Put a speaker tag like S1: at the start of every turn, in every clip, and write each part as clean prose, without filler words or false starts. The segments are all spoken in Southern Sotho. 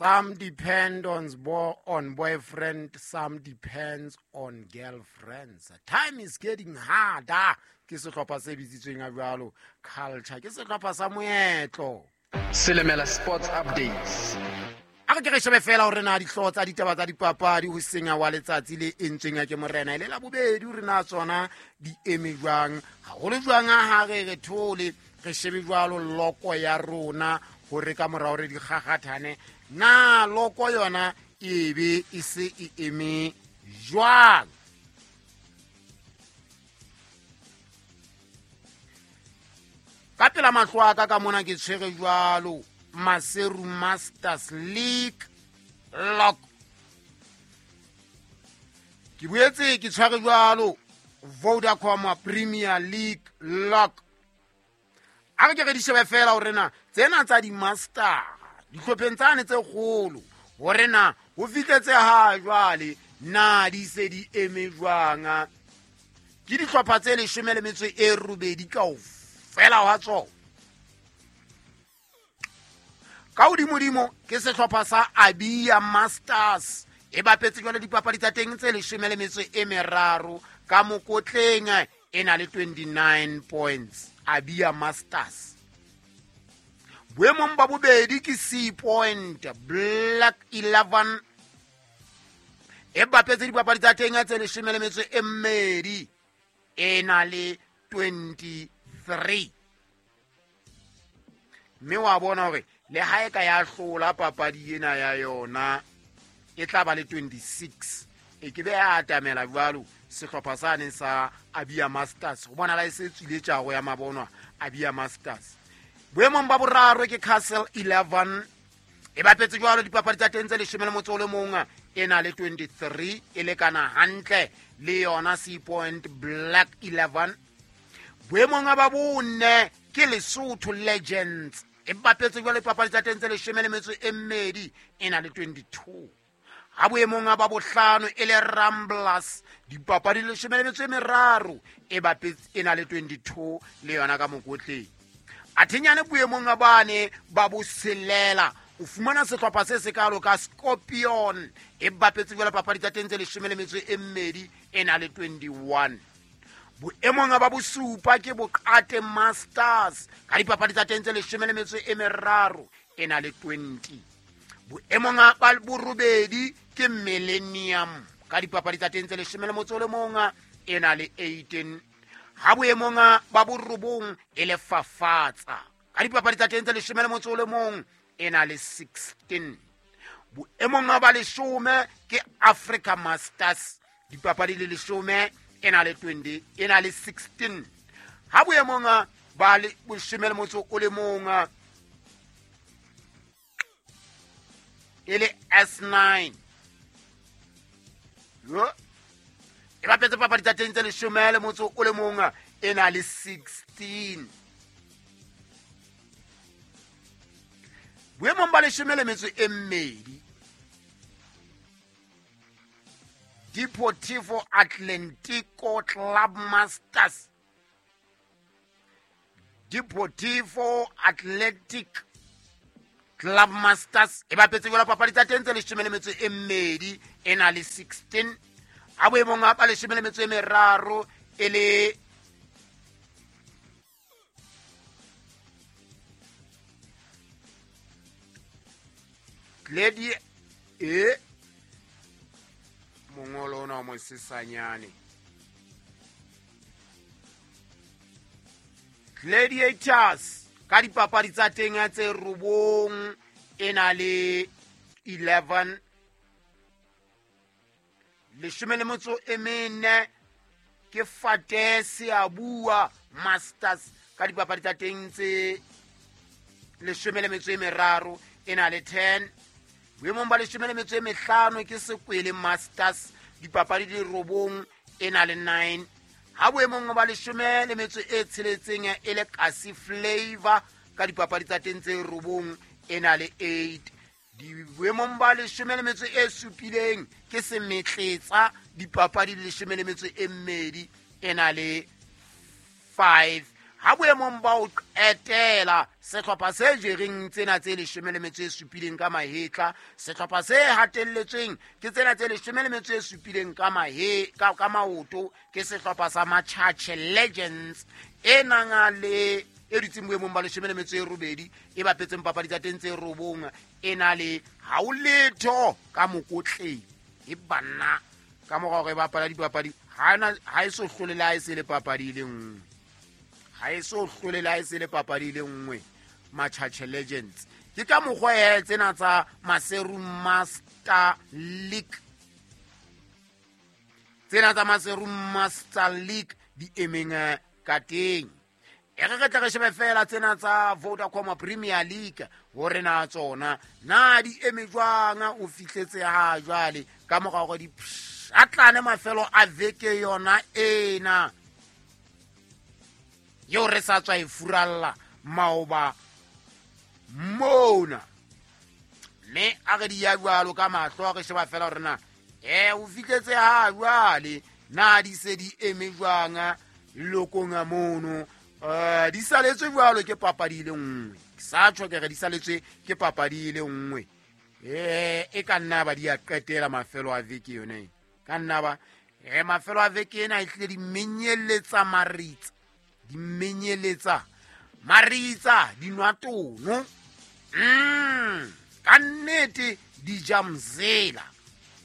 S1: Some depend on boyfriend, some depends on girlfriends. Time is getting harder. Ke sehlopha se bitsitsweng a jwalo culture. Ke sehlopha sa moetlo.
S2: Selemela Sports Updates.
S1: A re ke re shebe fela hore na dihlooho tsa ditaba tsa dipapadi ho senya wa letsatsi le entsweng ya ke morena e le la bobedi hore na tsona di eme jwang, haholo jwang ha re re thole re shebe jwalo loko ya rona hore ka mora hore di kgakgathane na loko yona e be e se e eme jwang. Ka pela mahlo a ka ka mona ke tshwere jwalo Maseru Masters League lock. Ke boetse ke tshwere jwalo Vodacom Premier League lock. A re ke re di shebe fela hore na tsena tsa di-master dihlopheng tsane tse kgolo hore na ho fihletse ha jwale na di se di eme jwang. Ke dihlopha tse 18 kaofela hwa tsona. Ka hodimodimo ke sehlopha sa Abia Masters e bapetse jwale dipapadi tsa teng tse 13 ka mokotleng e na le 29 points. Abia Masters. Boemong ba bobedi ke C Point Black 11 e bapetse dipapadi tsa teng tse 12 e na le 23. Mme wa bona hore le ha e ka ya hlola papadi ena ya yona e tla ba le 26. E ke be ya atamela jwalo sehlopha sa neng sa Abia Masters. Ho bona la e se tswile tjaro ya mabonwa Abia Masters. Boemong ba boraro ke Castle 11 e bapetse jwalo dipapadi tsa teng tse 11 e na le 23 e lekana hantle le yona C Point Black 11. Boemong ba bone ke Lesotho Legends e bapetse jwalo dipapadi tsa teng tse 12 e na le 22. Ha boemong ba bohlano e le Ramblers dipapadi 13 e bapetse e na le 22 le yona ka mokotleng. Athenyane boemong ba ne ba boselela o fumana sehlopha se sekalo ka Scorpion e bapetse jwalo papadi tsa teng tse 12 e na le 21. Boemong ba bosupa ke Boqate Masters ka dipapadi tsa teng tse 13 e na le 20. Boemong ba borobedi ke Millennium ka dipapadi tsa teng tse 11 e na le 18. Ha boemong ba borobong e le Fafatsa ka dipapadi tsa teng tse 11 e na le 16. Boemong ba 10 ke Africa Masters dipapadi le 10 e na le 20 e na le 16. Ha boemong ba 11 e le S9 e bapetse papadi tsa teng tse 11 e na le 16. Boemong ba 12 Deportivo Atlantico Club Masters. Deportivo Athletic Club Masters e bapetse jwalo papadi tsa teng tse 12 e na le 16. Ha boemong ba 13 e le Lady e mongolo ona o mosesanyane Gladiators ka dipapadi tsa teng tse 9 e na le 11. 14 ke Fate Seabua Masters ka dipapadi tsa teng tse 13 e na le 10. Boemong ba 15 ke Sekwele Masters dipapadi di 9 e na le 9. Ha boemong ba 16 e le Kasi Flavor ka dipapadi tsa teng tse 9 e na le 8. Boemong ba 17 ke Semetletsa dipapadi 12 e na le 5. Ha boemong ba ho qetela sehlopha se jereng tsena tse 17 ka mahetla, sehlopha se hatelletsweng ke tsena tse 17 ka ka maoto ke sehlopha sa Machache Legends e nang le e dutseng boemong ba 18 e bapetseng papadi tsa teng tse 9 e na le ha o letho ka mokotleng. E banna ka mora hore e bapala dipapadi ha e so hlole le ha e se le papadi e le nngwe. Ha e so hlole le ha e se le papadi e le nngwe Machache Legends. Ke ka mokgwa e tsena tsa Maseru Master League, tsena tsa Maseru Master League di emeng ka teng. E re re tle re shebe fela tsena tsa Vodacom Premier League hore na tsona na di eme jwang o fihletse ha jwale ka mora hore di pshatlane mafelo a veke yona ena eo re sa tswa e furalla maoba mona. Mme a re di ya jwalo ka mahlo a re sheba fela hore na o fihletse ha jwale na di se di eme jwang lokong a mono. Di saletswe jwalo ke papadi e le nngwe. Ke sa tjho ke re di saletswe ke papadi e le nngwe. E ka nna ba di a qetela mafelo a veke yona ena. Ka nna ba mafelo a veke ena e tlile di menyeletsa maritsa. Di menyeletsa maritsa di nwa tono. Ka nnete di ja mzela.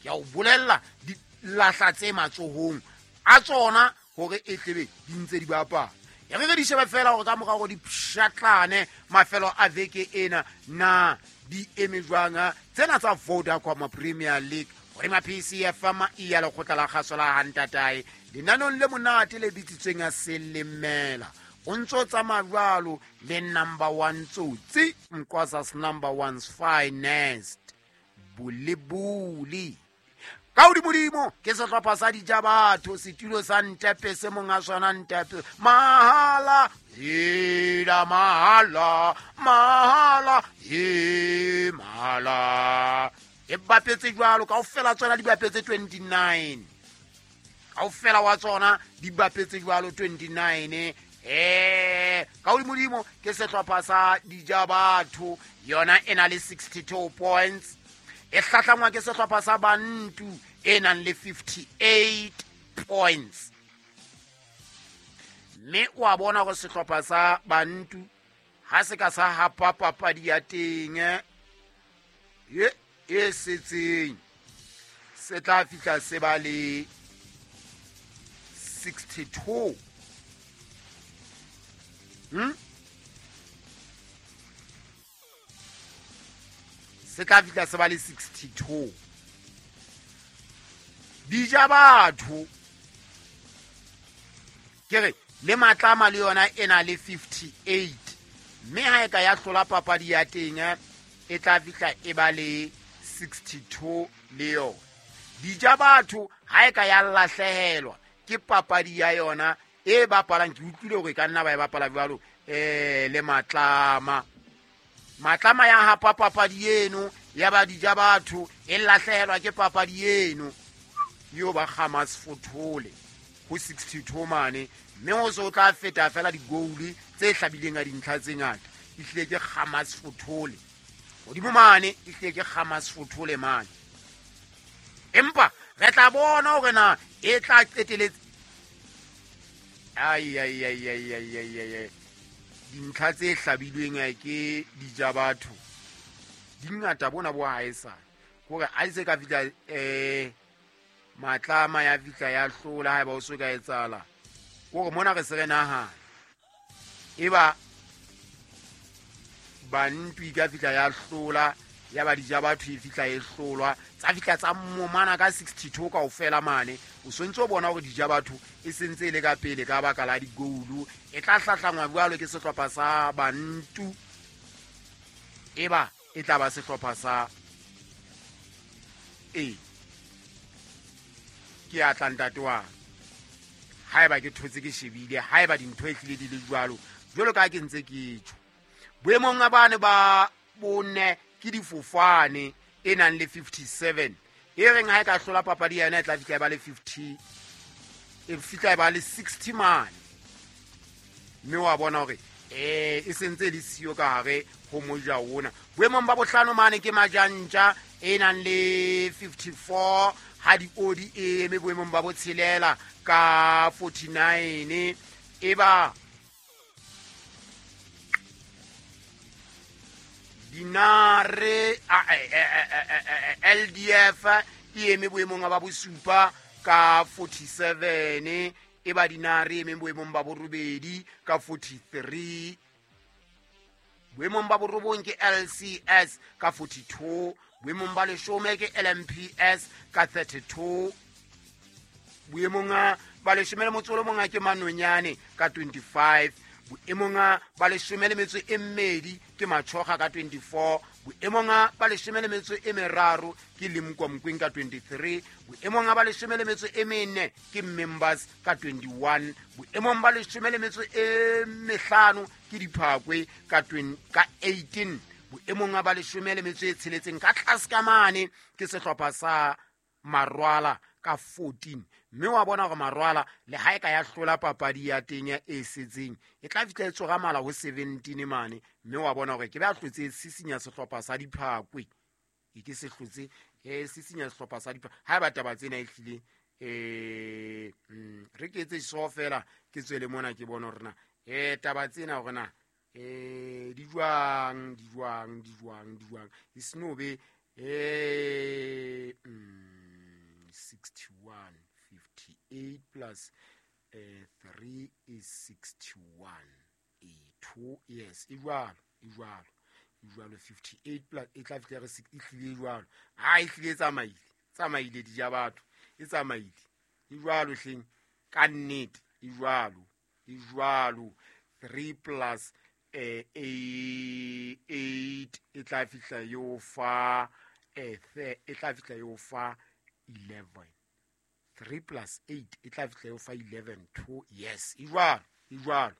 S1: Ke a o bolella di lahla tse matsohong a tsona hore e tlebe di ntse di bapala. E re re di shebe fela hore ka mora hore di pshatlane mafelo a veke ena na di eme jwang tsena tsa Vodacom Premier League hodima PCFM e ya lekgotla la kgaso la Hantatae lenanong le monate le bitsitsweng ya Selemela. O ntso tsamaya jwalo le number 1 tsotsi Mqwasa's number 1's finest Bulibuli. Ka hodimodimo ke sehlopha sa Dijabatho, setulo sa Ntepe se monga sona Ntepe. Mahala, hela mahala, mahala, he mahala. E bapetse jwalo kaofela tsona di bapetse 29. Kaofela wa tsona di bapetse jwalo 29. Ka hodimodimo ke sehlopha sa Dijabatho, yona e na le 62 points. E hlahlangwa ke sehlopha sa Bantu e nang le 58 points. Mme o a bona hore sehlopha sa Bantu ha se ka sa hapa papadi ya teng e setseng, se tla fihla se ba le 62. Se tla fihla se ba le 62. Dijabatho ke re le Matlama le yona e na le 58. Mme ha e ka ya hlola papadi ya teng e tla fihla e ba le 62 le yona. Dijabatho ha e ka ya lahlehelwa ke papadi ya yona e bapalang, ke utlwile hore e ka nna ba e bapala jwalo le Matlama. Matlama ya hapa papadi eno ya ba Dijabatho e lahlehelwa ke papadi eno yo ba Hamas Fothole ho 62 mane, mme ho so tla feta fela di-goal tse hlabileng a dintlha tse ngata. Ehlile ke Hamas Fothole hodimo mane, ehlile ke Hamas Fothole mane. Empa re tla bona hore na e tla qeteletse. Ai ai ai ai ai ai ai, dintlha tse hlabilweng ke Dijabatho di ngata bona bo haesale hore a se ka fihla Matlama ya fihla ya hlola haeba o so ka etsahala. Hore mona re se re nahana eba Bantu e ka fihla ya hlola, ya ba Dijabatho e fihla e hlolwa, tsa fihla tsa momana ka 62 kaofela mane. O sontse o bona hore Dijabatho e sentse e le ka pele ka baka la di-goal. E tla hlahlangwa jwalo ke sehlopha sa Bantu, eba e tla ba sehlopha sa ke a tla ntate wa haeba ke thotse ke shebile, haeba dintho e hlile di le jwalo jwalo ka ke ntse ke tjho. Boemong ba bane ba bone ke difofane e nang le 57, e reng ha e ka hlola papadi yena e tla fihla e ba le 50, e fihla e ba le 60 mane. Mme wa bona hore e sentse le siyo ka hare ho moja ona. Boemong ba bohlano mane ke Majantja e nang le 54, ha Diodi e eme boemong ba botshelela ka 49. E ba Dinare LDF e eme boemong ba bosupa ka 47, e ba Dinare e eme boemong ba borobedi ka 43. Boemong ba borobong ke LCS ka 42, boemong ba leshome ke LMPS ka 32, boemong ba leshome le motso o le mong ke Manonyane ka 25, boemong ba leshome le metso e mmedi ke Machoga ka 24, boemong ba leshome le metso e meraro ke Limkwa Mokweng ka 23, boemong ba leshome le metso e mene ke Members ka 21, boemong ba leshome le metso e mehlano ke Diphakwe ka 18, boemong ba leshome le metso e tsheletseng ka tlase ka mane ke sehlopha sa Marwala ka 14. Mme wa bona hore Marwala le ha e ka ya hlola papadi ya teng ya e setseng e tla fihla e tsoga mala ho 17 mane. Mme wa bona hore ke ba hlotse sisinya sehlopha sa Diphakwe, e ke se hlotse sisinya sehlopha sa Diphakwe. Ha ba taba tsena e hlile re ke etse so fela ke tswele mona ke bone hore na taba tsena hore na di jwang e seno be 61 58 plus 3 is 61 2. Yes, e jwalo 58 plus e tla fihla re e hlile jwalo. Ha e hlile tsamaile di ja batho, e tsamaile e jwalo hleng ka nnete, e jwalo 3 plus 8 e tla fihla yo fa e tla fihla yo fa 11. 3 plus 8 e tla fihla yo fa 11 2. Yes, e jwalo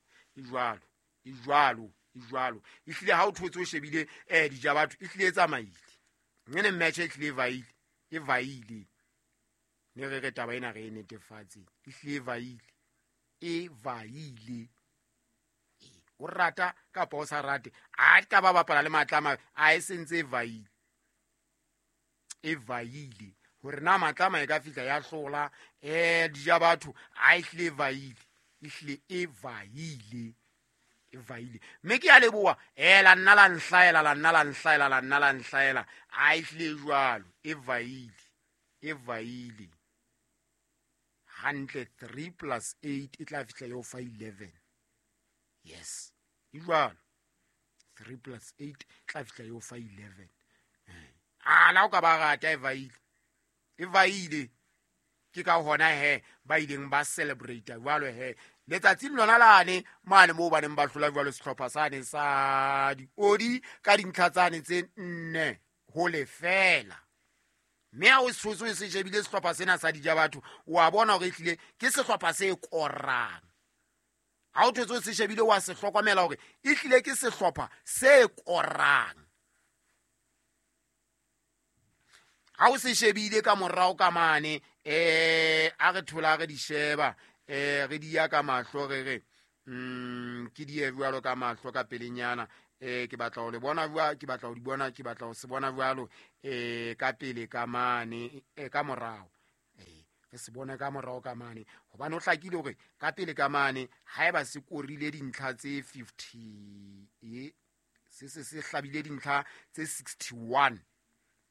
S1: e hlile ha o thotse o shebile dija batho e hlile e tsamaile ngene match e hlile e vaile ne re re taba ena re e netefatse, e hlile e vaile. O rata kapa o sa rate, a ka ba bapala le Matlama a e sentse e vaile hore na Matlama e ka fihla ya hlola dija batho a e hlile e vaile mme ke a leboha la nna la nhlaela a e hlile jwalo e vaile hantle. 3 plus 8 e tla fihla yo fa 11. Yes, e jwalo 3 plus 8 tla fihla yo fa 11. A la o ka ba rata e vaile ke ka hona he ba ileng ba celebrate jwalo he letsatsing lona lane mane moo ba neng ba hlola jwalo sehlopha sane sa Diodi ka dintlha tsane tse 4 ho lefela. Mme ha o se se shebile sehlopha sena sa dija batho, wa bona hore ehlile ke sehlopha se korang. Ha o thotse se shebile wa se hlokomela hore ehlile ke sehlopha se korang. Ha o se shebile ka morao ka mane a re thola re di sheba re di ya ka mahlo re re ke di e jwalo ka mahlo ka pelenyana ke batla ho le bona jwa ke batla ho di bona ke batla ho se bona jwalo ka pele ka mane ka morao re se bona ka morao ka mane hobane o hlakile hore ka pele ka mane haeba se korile dintlha tse 50 se hlabile dintlha tse 61.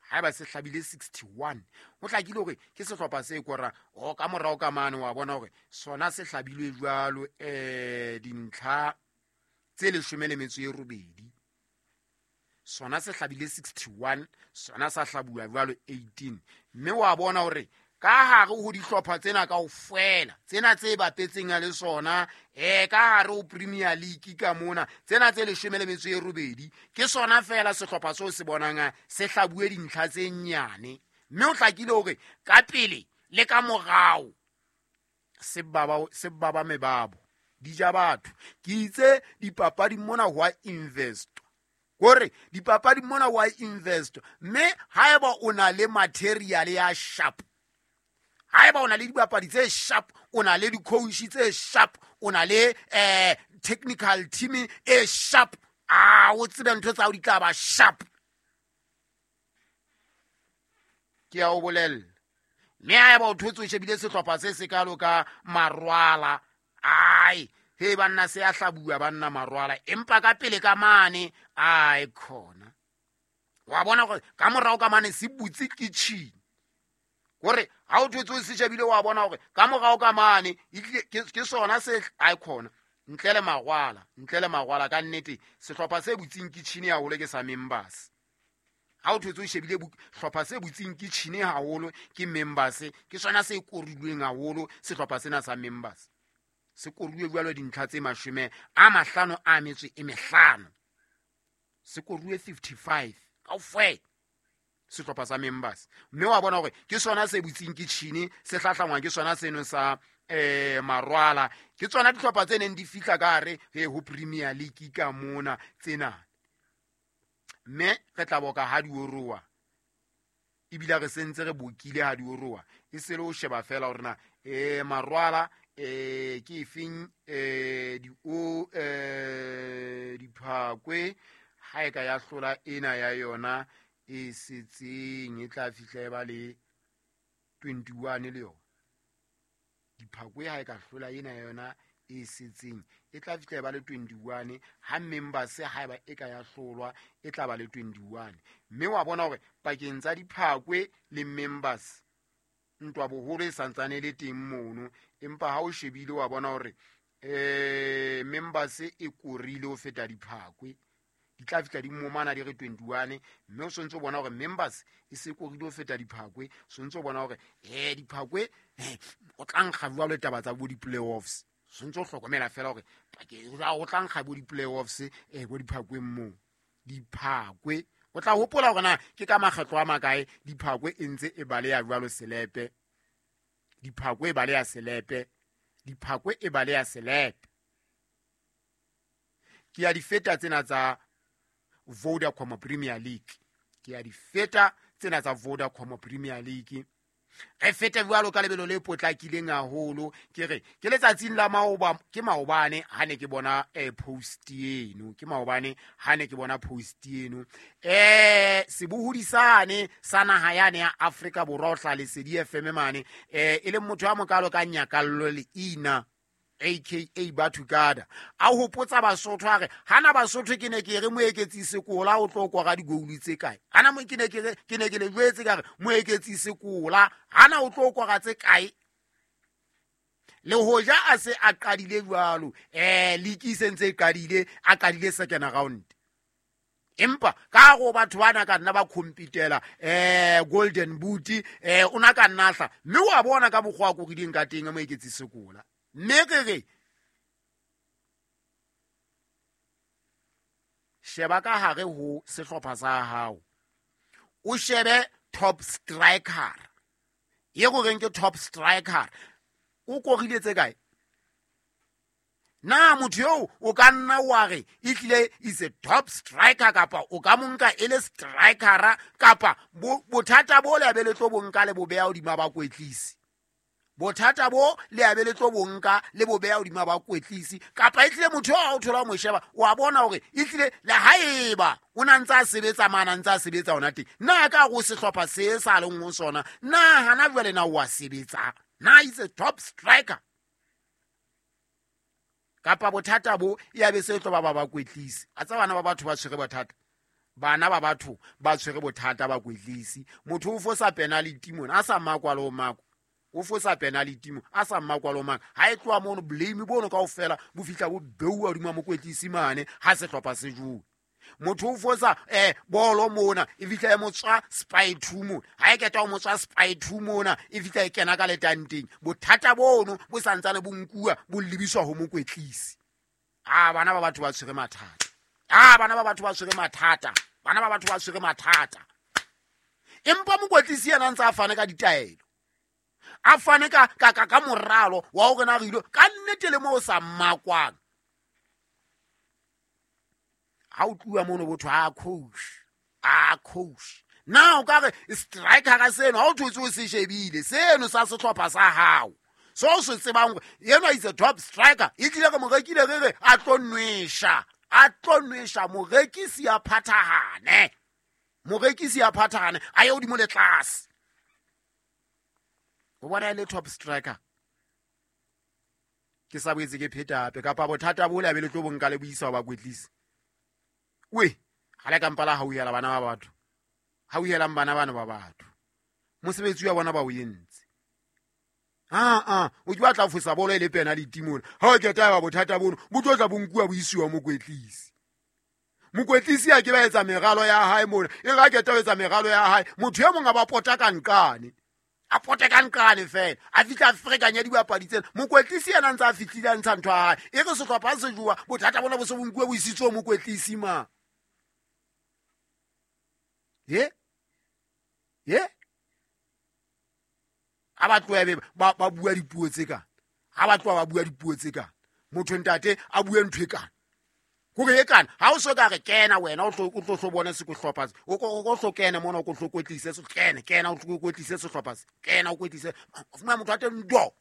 S1: Haeba se hlabile 61 ho hlakile hore ke sehlopha se kora o ka morao ka mane wa bona hore sona se hlabilwe jwalo dintlha tse 18. Sona se hlabile 61, sona sa hlabuwa jwalo 18. Mme wa bona hore ka hare ho dihlopha tsena kaofela tsena tse bapetseng le sona ka hare ho Premier League ka mona tsena tse 18 ke sona fela sehlopha seo se bonang se hlabuwe dintlha tse nyane. Mme o hlakile hore ka pele le ka morao se baba mebabo di ja batho. Ke itse dipapadi mona ho a invest, kore dipapadi mona ho a invest, mme haeba o na le material ya sharp, haeba o na le dibapadi tse sharp, o na le di-coach tse sharp, o na le technical team e sharp, a o tsebe ntho tsa hao di tla ba sharp. Ke a o bolella. Mme haeba o thotse o shebile sehlopha se sekalo ka Marwala, ai he banna se a hlabua banna Marwala, empa ka pele ka mane ai khona. Wa bona gore ka morao ka mane se butse kitchen. Hore ha o thotse o se shebile wa bona hore ka morao ka mane ke sona se ai khona. Ntle le Marwala ka nnete sehlopha se butseng kitchen haholo ke sa members. Ha o thotse o shebile hlopha se butseng kitchen haholo ke members, ke sona se korilweng haholo sehlopha sena sa members. Se koruwe jwalo dintlha tse 55, se koruwe 55 kaofela sehlopha sa members. Mme wa bona hore ke sona se butseng kitchen, se hlahlangwa ke sona seno sa Marwala. Ke tsona dihlopha tse neng di fihla ka hare ho Premier League ka mona tsena. Mme re tla boka ha di oroa, ebile re sentse re bokile ha di oroa, e se le ho sheba fela hore na Marwala ke efeng Diphakwe ha e ka ya hlola ena ya yona e setseng e tla fihla e ba le 21 le yona. Diphakwe ha e ka hlola ena ya yona e setseng e tla fihla e ba le 21, ha members ha eba e ka ya hlolwa e tla ba le 21. Mme wa bona hore pakeng tsa Diphakwe le members ntwa boholo e santsane le teng mono, empa ha o shebile wa bona hore members e korile ho feta Diphakwe. Di tla fihla di momana di re 21, mme o sontse o bona hore members e se korile ho feta Diphakwe. Sontse o bona hore Diphakwe o tla nkga jwalo taba tsa bo di-playoffs. Sontse o hlokomela fela hore o tla nkga bo di-playoffs bo Diphakweng moo. Diphakwe o tla hopola hore na ke ka makgetlo a makae Diphakwe e ntse e baleha jwalo selepe. Diphakwe e baleha selepe. Diphakwe e baleha selepe. Ke ya di feta tsena tsa Vodacom Premier League. Ke ya di feta tsena tsa Vodacom Premier League. Re fete jwalo ka lebelo le potlakileng haholo. Ke re ke letsatsing la maoba, ke maobane ha ne ke bona post eno, ke maobane ha ne ke bona post eno. Sebohodi sane sa naha yane ya Afrika Borwa o hla Lesedi FM mane, e leng motho ya mokalo ka Nyakallo Leina aka Bathukada, a hopotsa Basotho a re hana Basotho ke ne ke re Moeketsi Sekola o tlo kora digoulu tse kae, hana mo ke ne ke re ke ne ke le jwetse ka re Moeketsi Sekola hana o tlo kora tse kae. Le hoja a se a qadile jwalo, league se ntse e qadile, a qadile second round, empa ka go batho bana ka nna ba competela golden boot, o na ka nna hla, mme wa bona ka mokgwa a korileng ka teng Moeketsi Sekola. Mme ke re sheba ka hare ho sehlopha sa hao, o shebe top striker ye go reng ke top striker, o korile tse kae? Na motho eo o ka nna wa re e tlile is a top striker, kapa o ka mo nka e le strikera, kapa bothata bo le be le tlo bo nka le bo beha hodima bakwetlisi. Bothata bo le a be le tlo bonka le bo beha hodima bakwetlisi, kapa e tlile motho a o thola mo sheba wa bona hore e tlile le haeba o na ntse a sebetsa mana ntse a sebetsa hona teng, na ka go sehlopha se sa leng ho sona, na hana jwale na wa sebetsa, na is a top striker, kapa bothata bo ya be se tlo ba bakwetlisi. A tsa bana ba batho ba tshwere bothata, bana ba batho ba tshwere bothata bakwetlisi. Motho o fosa penalty mona a sa makwa le o makwa, o fosa penalty mo a sa mmakwalo mang, ha e tloha mono blame bono kaofela bo fihla bo beuwa hodima mokwetlisi mane ha sehlopha se jowe. Motho o fosa bolo mona e fihla e motswa spy 2 mona, ha e keta o motswa spy 2 mona e fihla e kena ka letanteng. Bothata bono bo santsane bo nkuwa bo lebiswa ho mokwetlisi. A bana ba batho ba tshwere mathata, a bana ba batho ba tshwere mathata, bana ba batho ba tshwere mathata. Empa mokwetlisi yena ntse a fane ka ditaelo, a fane ka ka ka moralo wa hore na re ile ka nnete le mo sa mmakwang. Ha o tluwa mono botho a coach, a coach na o ka re striker ka seno ha o thotse o se shebile seno sa sehlopha sa hao, So o se tsebang gore enwa is a top striker, e tlile re mo rekile re re a tlo nwesha morekisi a phathahane, a ye hodimo le tlase. O bona e le top striker. Ke sa boetse ke pheta hape, kapa bothata bo le be le tlo bonka le buisa ba kwetlisi. We ha le ka mpala hauhela bana ba batho, hauhelang bana bana ba batho, mosebetsi wa bona ba o entse. O ke batla fosa bolo e le penalty mona. Ha o keta ba bothata bono bo tlo tla bonkuwa bo isiwa mokwetlisi. Mokwetlisi a ke ba etsa meralo ya hae mona, e re a keta ho etsa meralo ya hae, motho e mong a ba pota ka nqane, a pote ka nqane fela, a fihla a ferekanya dibapadi tsena. Mokwetlisi yena ntse a fihlile a ntsha ntho ya hae, e re sehlopha se jowa, bothata bona bo se bonkuwe bo isitswe mokwetlisi ma. Ye ha ba tloha be ba bua dipuo tse kana, ha ba tloha ba bua dipuo tse kana, motho ntate a bue ntho e kana, hore e kana ha o so ka re kena wena o tlo tlo bona se sehlopha se, o tlo kena mona, o tlo kwetlise se, kena o tlo kwetlise sehlopha se, kena o kwetlise, o fumana motho a teng do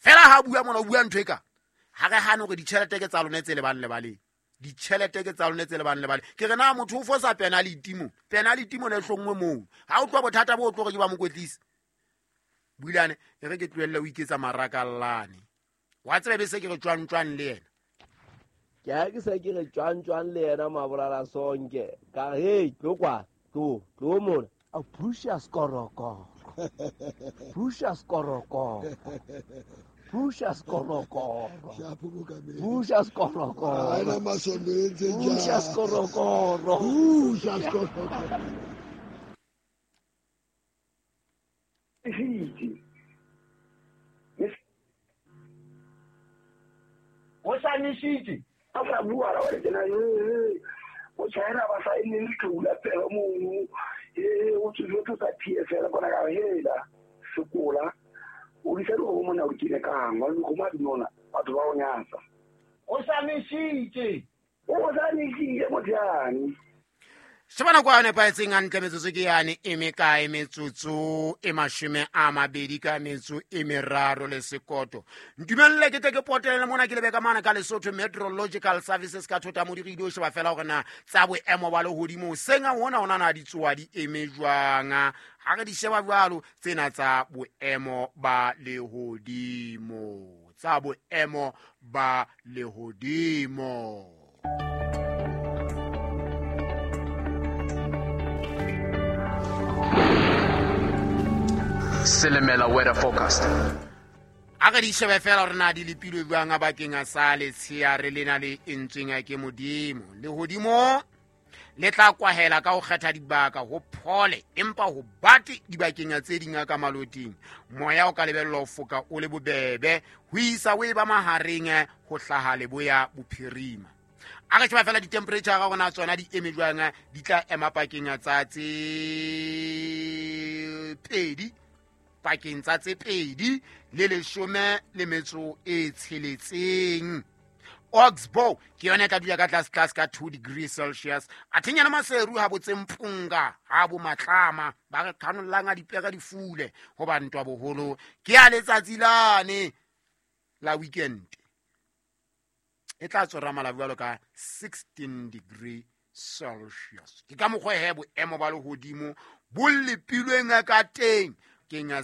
S1: fela ha bua mona o bua ntho e kana. Ha re hane hore ditjhelete ke tsa lona tse lebang lebaleng, ditjhelete ke tsa lona tse lebang lebaleng. Ke re na motho o fosa penalty mo, penalty mo ne hlongwe moo, ha o tloha bothata bo tlo re ke ba mokwetlisi. Builane e re ke tlohelle o iketsa marakallane, wa tseba be se ke re tjwang le yena.
S3: Ke ha ke se ke re tjwang le yena mabolala sonke, ka hey tlo kwa tlo mona a pusha skoroko, pusha skoroko, pusha skoroko, pusha skoroko, pusha skoroko,
S4: pusha skoroko.
S1: O sa nishitse
S5: a sa bua ra wa tsena o tshwaela ba sa ene le tlola pela mo o tsotso tsa PFL bona ka hela sekola o di selo go mona o kile kang wa go ma dinona batho ba o nyatsa.
S1: O sa nishitse
S5: motsane.
S1: Shebana kwa nepahetseng hantle metsotso ke yane e mekae, metsotso e 23 ka metso e 3 le sekoto. Ntumelle ke tle ke potele mona ke lebe ka mana ka Lesotho Meteorological Services ka thota modiri di o sheba fela hore na tsa boemo ba lehodimo senga hona hona na di tsoa di eme jwang. Ha re di sheba jwalo tsena tsa boemo ba lehodimo, tsa boemo ba lehodimo.
S2: Selemela weather forecast.
S1: A re di shebe fela hore na di lepilwe jwang bakeng a sa letsheare lena le entsweng ke Modimo. Lehodimo le tla kwahela ka ho kgetha dibaka ho phole, empa ho bate dibakeng tse ding ka maloting. Moya o ka lebellwa ho foka o le bobebe ho isa o e ba mahareng ho hlaha leboya bophirima. A re sheba fela di-temperature ga rona tsona di eme jwang, di tla ema pakeng tsa tse 2, pakeng tsa tse 2 le 16. Oxbow ke yona e tla dula ka tlase tlase ka 2 degrees Celsius. Athenyana Maseru ha botse Mpunga ha bo Matlama ba re khanollang a dipere di fule hoba ntwa boholo ke ya letsatsi lane la weekend e tla tsora mala jwalo ka 16 degree Celsius. Ke ka mokgwa he boemo ba lehodimo bo lepilweng ka teng kenya